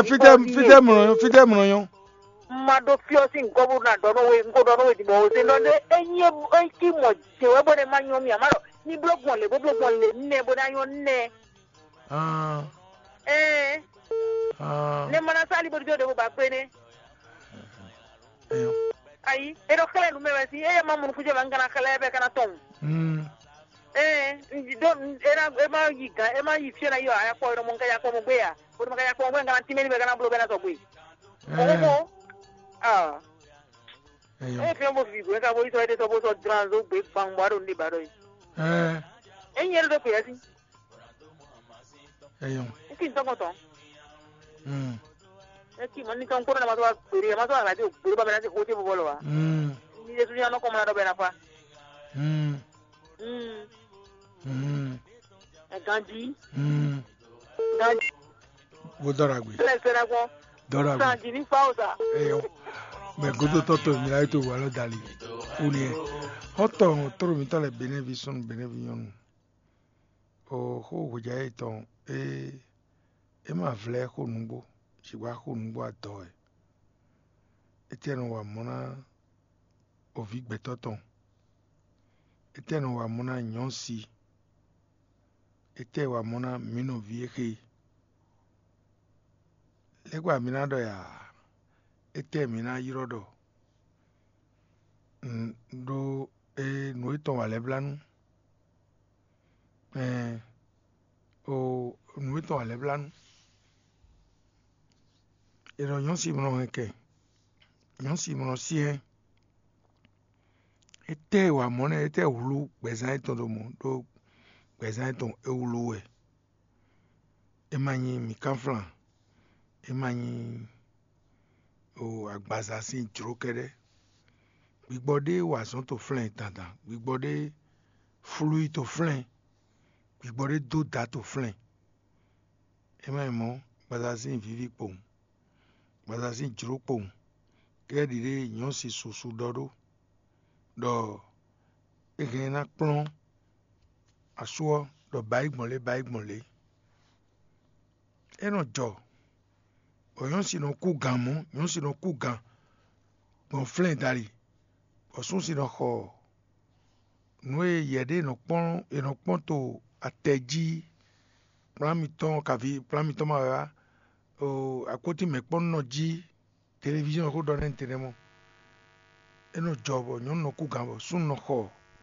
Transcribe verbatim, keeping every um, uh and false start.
Fítɛ́ fítɛ́ mlɔ nyɔ́, fítɛ́ mlɔ nyɔ́. Ma ɖó fyɔ́ sín gɔ́ bó ná ɖɔ nú we, un ko ɖɔ nú we din bɔ o se ɖɔ ɖé. Ényí é cí mɔ jě wɛ bɔ ɖe ma nyɔ mì ǎ, má ɖɔ ní bló gbɔn lě bó bló gbɔn lě nɛ bó ná nyɔ nɛ. Ah, Ɛɛ, ah, ne ma ná sá ali bó dó ɖě bó ba gbé nɛ. Eyɔ. Ayi, é ɖɔ xlɛ́ nǔ mɛ wɛ sín, éyɛ́ ma mɔ nukúnjɛ ma un ka ná xlɛ́ bɔ é ka ná tɔn. Mm. Ɛɛ, un ɖi ɖó un- é ná é má yi gǎn é má yi fí é ná yi ɔ ayakpɔ é nɔ mɔ un ka yakpɔ mɔ gbé ya, bó nɔ ma ka yakpɔ mɔ gbé un ka ná tínmɛ ní bɔ é ka ná bló bɔ é ná sɔgbe. Ɔmɔ Eh, mɔ. Ah, eyɔ. Eye fiɔn bo fi gwe ka bo yi sɔ ede sɔ bo sɔ dran zo gbe gbangba ɖo ne ba ɖɔ yi. Eh, Enyi yɛ ɖo kpe yasi. Eyɔ. Eki ntɔkɔtɔ. Mm. Eki mɔ ni tɔn kpɔnɔ na ma to wa gbere ma to wa radio gbere ba mɛ na se ko te bo bɔlɔ wa. Mm. Ni yesu ni anɔ kɔmɔ na dɔ bɛ na fa. Mm. Mm. Mm. Ɛ ganji. Mm. Ganji. Wo dɔra gbe. Lɛ sɛ na gbɔ. Dɔra gbe. Sanji ni fa o sa. Eyɔ. Mɛ godo tɔtɔ mi la to wa lɔ dali. Uni. Xɔtɔ toro mi tɔ le benevi sɔn benevi nyɔnu. O xó hwejǎ yětɔn é é ma vlɛ́ xó nǔgbó, sixú xó nǔgbó adɔ wɛ. Étɛ́ nɔ wa mɔ̌ ná oví gbɛtɔ́ tɔn? Étɛ́ nɔ wa mɔ̌ ná nyɔ̌si? Étɛ́ wa mɔ̌ ná mǐ nɔví e xé? Lɛ́kpa mǐ ná ɖɔ ya? Étɛ́ mǐ ná ylɔ́ ɖɔ? Ɖó é nǔ e tɔn wa lɛ́ blá nú? Ɛɛ, o nǔ e tɔn wa lɛ́ blá nú? È nɔ nyɔ̌si mlɔ hɛn kɛ, nyɔ̌si mlɔ syɛ́n. Étɛ́ e wa mɔ̌ nɛ́? Étɛ́ hwlú gbɛzán yětɔn ɖo mɔ̌? Ɖó gbɛzán yětɔn é wlú wɛ. É ma nyí mǐkánflán, é ma nyí o agbaza sín jlǒ kɛ́ɖɛ́. Gbigbɔ ɖé wa azɔ̌ to flɛ́n dandan, gbigbɔ ɖé flú yi to flɛ́n, gbigbɔ ɖé dó da to flɛ́n. É ma nyí mɔ̌, agbaza sín víví kpowun, agbaza sín jlǒ kpowun, kɛ́ɖɛ́ ɖiɖe nyɔ̌si susu ɖɔ ɖó ɖɔ é hɛn ná kplɔ́n asú ɔ́ ɖɔ bǎyi gbɔn lě bǎyi gbɔn lě. É nɔ jɔ bɔ nyɔ̌si nɔ kú gan mɔ̌, nyɔ̌si nɔ kú gan gbɔn flɛ́n dali, bɔ súnsi nɔ xɔ nǔ e yɛ ɖé nɔ kpɔ́n è nɔ kpɔ́n to atɛ jí, kplán mitɔn kaví kplán mitɔn ma wɛ wá, akpótín mɛ̌kpɔ́nnɔ jí, televíziɔn xó ɖɔ nɛ́ tɛnɛ́ mɔ. É nɔ jɔ bɔ nyɔ̌nu nɔ kú gan bɔ súnnu nɔ xɔ